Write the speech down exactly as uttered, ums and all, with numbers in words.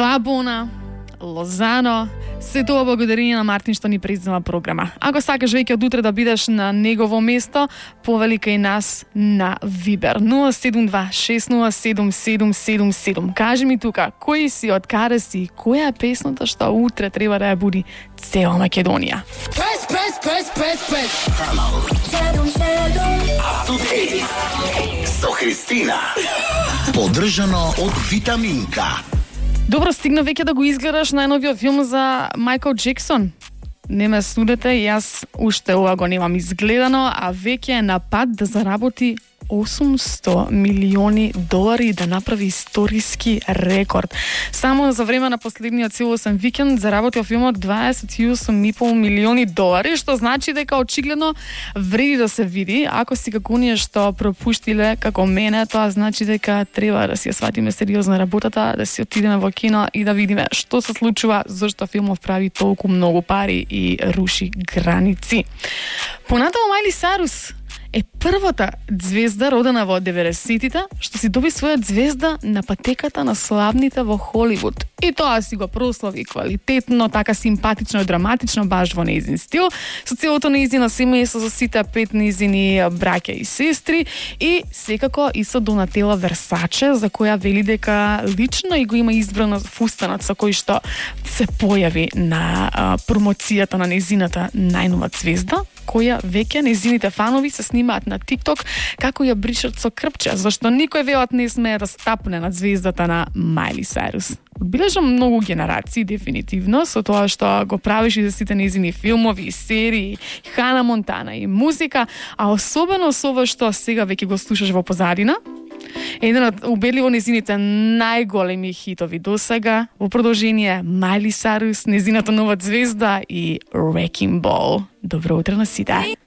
Вабона, Лозано, се тоа благодарение на Мартин што ни признава програма. Ако сакаш веќе од утре да бидеш на негово место, повели кај нас на Вибер нула седум два шест нула седум седум седум седум. Кажи ми тука, кој си, од каде си, која е песната што утре треба да ја буди цела Македонија? Прес, прес, прес, прес, прес. Со Христина. Поддржано од Витаминка. Добро, стигна веќе да го изгледаш најновиот филм за Майкл Джексон. Не ме судете, јас уште ова го немам изгледано, а веќе е на пат да заработи осумсто милиони долари и да направи историски рекорд. Само за време на последниот целосен викенд заработил филмот дваесет и осум и пол милиони долари, што значи дека очигледно вреди да се види. Ако си како оние што пропуштиле како мене, тоа значи дека треба да си ја сватиме сериозно работата, да си отидеме во кино и да видиме што се случува, зашто филмов прави толку многу пари и руши граници. Понатаму Мајли Сайрус е првата звезда родена во деветдесетите што си доби своја звезда на патеката на славните во Холивуд. И тоа си го прослави квалитетно, така симпатично и драматично, баш во нејзин стил, со целото нејзино семејство, со сите пет нејзини браќа и сестри, и секако и со Донателла Версаче, за која вели дека лично и го има избрано фустанот со кој што се појави на а, промоцијата на нејзината најнова звезда, која веќе нејзините фанови се снимаат на TikTok како ја бришат со крпче, зашто никој велат не смее да стапне над звездата на Мајли Сайрус. Одбележа многу генерации, дефинитивно, со тоа што го правиш и за сите нејзини филмови и серии, Хана Монтана и музика, а особено со ова што сега веќе го слушаш во позадина. Еден од убедливо нејзините најголеми хитови досега, во продолжение Мајли Сайрус, нејзината нова звезда и Wrecking Ball. Добро утро на сите.